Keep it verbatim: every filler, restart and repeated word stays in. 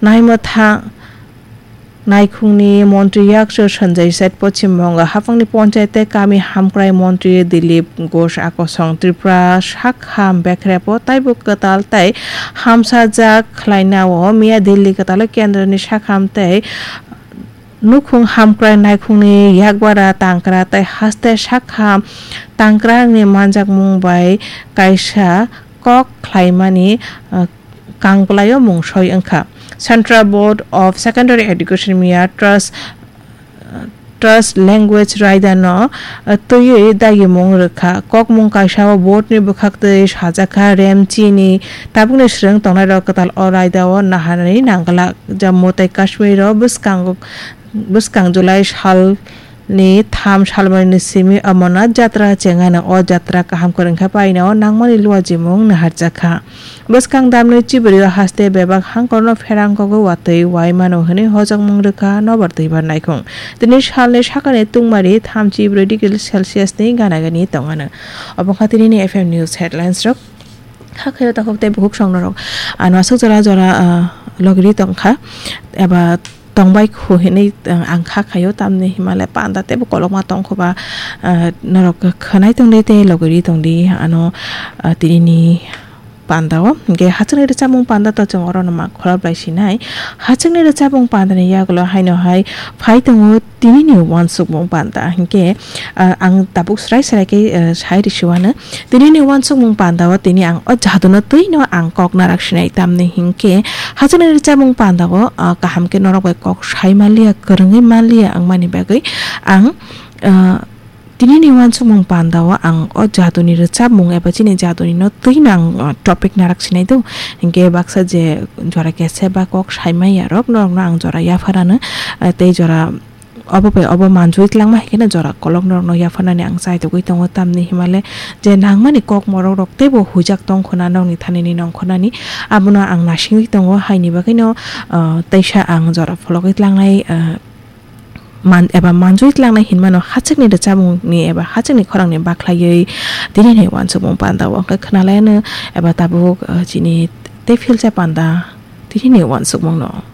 Naimwthang naikhungni montri yakchu Sanjay Seth, Poschim Bongo haphangni ponchayat tei kami hamkrai montri Dilip Ghosh akosong, Tripura sakham bekrepo taibo kwtal tei hamsajak khlainao miya Delhi kwtalo kendroni sakham tei nukhung hamkrai naikhungni yakbara tangkra tei haste sakham tangkrani manjakmung bai kaisa kok khlaimani, uh, kangpwlaio mung soi wngkha. Central Board of Secondary Education miya Trust, uh, Trust Language Raidano, uh, twiwi dagimung rwkha. Kokmung kaisao boardni bwkhaktwi sajakha, rem chini tabukni swrwng tongnairok kwtal o raidao naharnani nangla. Jammu tei Kashmiro bwskango, bwskang July salni tham salmarini simi Amarnath jatra chengano. O jatra kaham kwrwngkha paino nangmani luajimung naharjakha. Bwskang damni chibrio haste bebak hangkorno pherang kogo watwi wai mano hwnwi hojokmung rwkha nobar twibar naikhung. Tini salni sakani tungmari thamchi brwi degree Celsius ni gana gani tongano. Obo wngkha tinini F M News headlines rok. Hakhe o takhuk tei bukhuk songnorok ano aswk jora jora, ah, logri tongkha eba tongbai khu hinwi, ah, ang kha khaio, tamni himale panda teibo kolokma tongkhoba, ah, norok khwnai tongdi tei logri tongdi ano, ah, tinini pandao. Hingke hachwkni rwchapmung panda to chwng orono ma khorop bai sinai. Hachwkni rwchapmung pandani yagulo haino hai phai tongo tinini uansukmung panda. Hingke, ah, ang tabuk srai srai khe, ah, sai risiwano. Tinini uansukmung pandao tini ang o jaduno twino ang kok narak sinai, tamni hingke hachwkni rwchapmung pandao, ah, kaham khe norok bai kok sai manliya, kwrwngwi manliya wngmani bagwi ang, ah, tinini uansukmung pandao ang o jaduni rwchapmung eba chini jaduni no twino ang, ah, topic narak sinai do. Hingke baksa je jora kese ba kok sai manya rok norokno ang jora yapharano, ah, tei jora obo bai obo manjui tlangma hai kheno jora kolok norokno yapharnani ang chai togwi tongo, tamni himale je nangmani kok morok rok teibo huijak tongkhona nokni thanini nongkhornani, abono ang nasingwi tongo, haini bagwino, ah, teisa ang jora phologwi tlangnai, ah, man-, eba manjui tlangnai hinmano hachwkni rwchapmungni eba hachwkni khorangni bakhlaiwi tinini uansukmung pandao hwnkhe khwnalaiano eba tabuk, ah, chini tei philsa panda tinini uansukmungno.